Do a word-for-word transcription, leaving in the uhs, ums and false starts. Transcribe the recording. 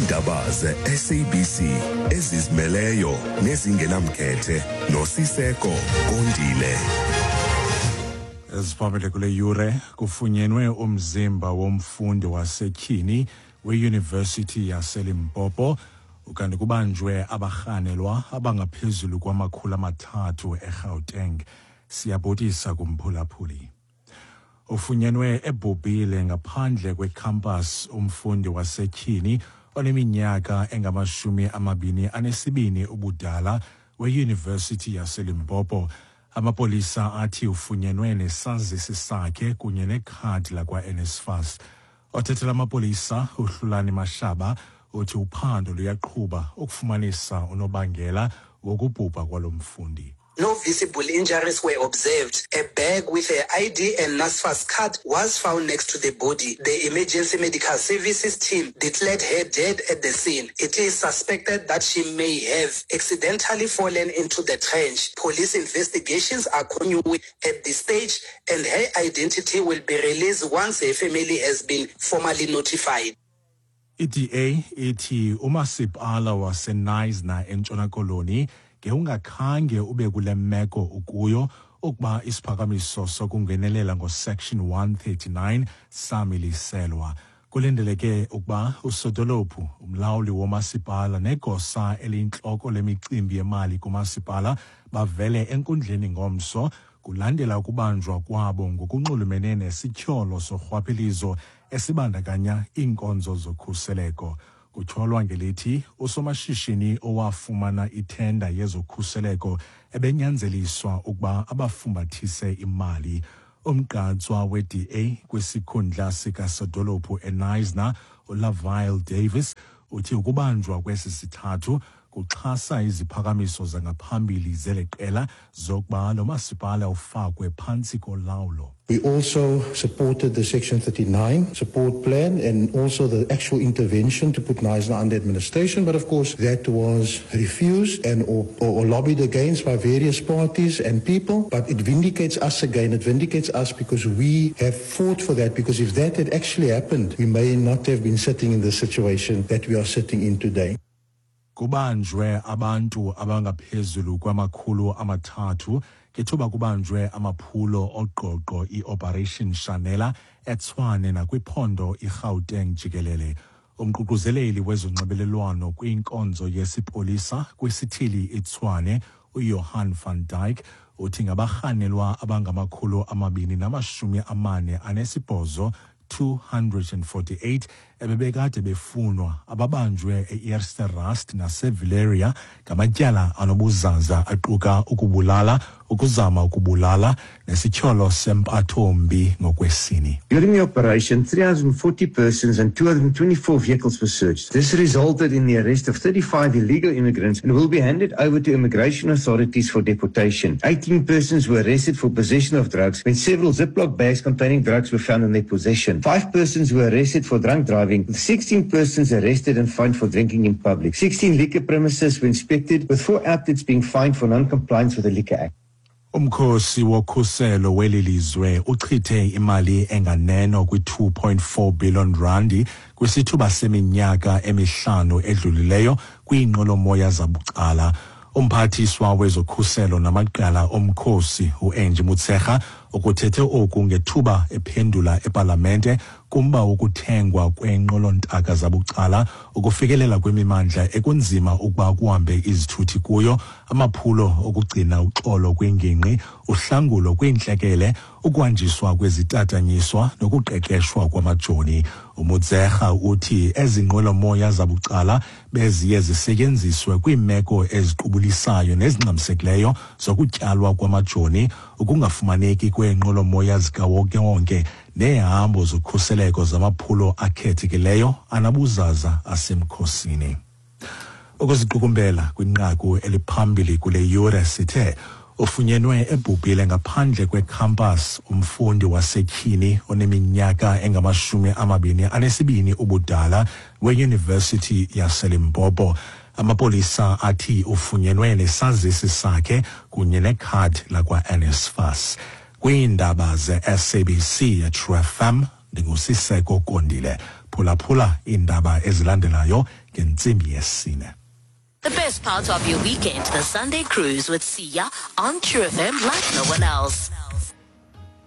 Iindaba ze-S A B C ezizimeleyo nezingenamkhethe noSiseko Kondile. Eziphambili kule yure: kufunyenwe umzimba womfundi wasetyhini weyunivesithi yaseLimpopo, ukanti kubanjwe abarhanelwa abangaphezulu kwamakhulu amathathu eGauteng. Siyabhotisa kumphulaphuli. Ufunyenwe ebhubhile ngaphandle kwekhampas umfundi wasetyhini oneminyaka engamashumi amabini anesibini ubudala weyunivesithi yaseLimpopo. Amapolisa athi ufunyenwe nesazisi sakhe kunye nekhadi lakwa-N S F A S. Othethela amapolisa uHlulani Mashaba uthi uphando luyaqhuba ukufumanisa unobangela wokubhubha kwalo mfundi. No visible injuries were observed. A bag with a I D and NSFAS card was found next to the body. The emergency medical services team declared her dead at the scene. It is suspected that she may have accidentally fallen into the trench. Police investigations are continuing at this stage and her identity will be released once her family has been formally notified. I-D A ithi umasipala waseKnysna eNtshona Koloni ngewungakhange ube kule meko ukuyo ukuba isiphakamiso sokungenelela ngoSection one thirty-nine samiliselwa. Kulindeleke ukuba usodolophu, umlawuli womasipala negosa eliyintloko lemicimbi yemali kumasipala bavele enkundleni ngomso kulandela ukubanjwa kwabo ngokunxulumene nesityholo sorhwaphilizo esibandakanya iinkonzo zokhuseleko. Kutyholwa ngelithi usomashishini owafumana ithenda yezokhuseleko ebenyanzeliswa ukuba abafumbathise imali. Umgqatswa we-D A kwisikhundla sikasodolophu eKnysna, uLavile Davis, uthi ukubanjwa kwesi sithathu kuxhasa iziphakamiso zangaphambili zeli qela zokuba lo masipala ufakwe phantsi kolawulo. We also supported the Section thirty-nine support plan and also the actual intervention to put Knysna under administration. But of course, that was refused and or, or, or lobbied against by various parties and people. But it vindicates us again. It vindicates us because we have fought for that. Because if that had actually happened, we may not have been sitting in the situation that we are sitting in today. Kubanjwe abantu abangaphezulu kwamakhulu amathathu ngethuba kubanjwe amaphulo oqoqo i-Operation Shanela eTshwane nakwiphondo iGauteng jikelele. Umququzeleli wezonxibelelwano kwinkonzo yesipolisa kwisithili iTshwane, uJohan van Dyk, uthi ngabarhanelwa abangamakhulu amabini namashumi amane anesibhozo two hundred forty-eight ebebekade befunwa ababanjwe e-Eerste Rust naseVillieria ngamatyala anobuzaza aquka ukubulala, ukuzama ukubulala nesityholo sempatho-mbi ngokwesini. During the operation, three hundred forty persons and two hundred twenty-four vehicles were searched. This resulted in the arrest of thirty-five illegal immigrants and will be handed over to immigration authorities for deportation. eighteen persons were arrested for possession of drugs when several Ziploc bags containing drugs were found in their possession. Five persons were arrested for drunk driving, with sixteen persons arrested and fined for drinking in public. sixteen liquor premises were inspected, with four outlets being fined for non-compliance with the Liquor Act. Umkhosi wokhuselo weli lizwe uchithe imali enganeno kwi-two point four billion randi kwisithuba seminyaka emihlanu edlulileyo kwiinqwelomoya zabucala. Umphathiswa wezokhuselo namaqela omkhosi uAngie Motshekga ukuthethe oku ngethuba ephendula epalamente kumba wokuthengwa kweenqwelontaka zabucala ukufikelela kwimimandla ekunzima ukuba kuhambe izithuthi kuyo, amaphulo okugcina uxolo kwingingqi, uhlangulo kwiintlekele, ukuhanjiswa kwezitatanyiswa nokuqeqeshwa kwamajoni. UMotshekga uthi ezi nqwelomoya zabucala beziye zisetyenziswe kwiimeko eziqubulisayo nezingxamisekileyo zokutyalwa kwamajoni, ukungafumaneki kweenqwelomoya zikawonkewonke neehambo zokhuseleko zamaphulo akhethekileyo anabuzaza asemkhosini. Ukuziqukumbela kwinqaku eliphambili kule yure sithe ufunyenwe ebhubhile ngaphandle kwekhampas umfundi wasetyhini oneminyaka engamashumi amabini anesibini ubudala weyunivesithi yaseLimpopo. Amapolisa athi ufunyenwe nesazisi sakhe kunye nekhadi lakwa-N S F A S. Kwiindaba ze-S A B C True F M, ndinguSiseko Kondile. Phulaphula iindaba ezilandelayo ngentsimbi yesine. The best part of your weekend, the Sunday Cruise with Siya on True F M like no one else.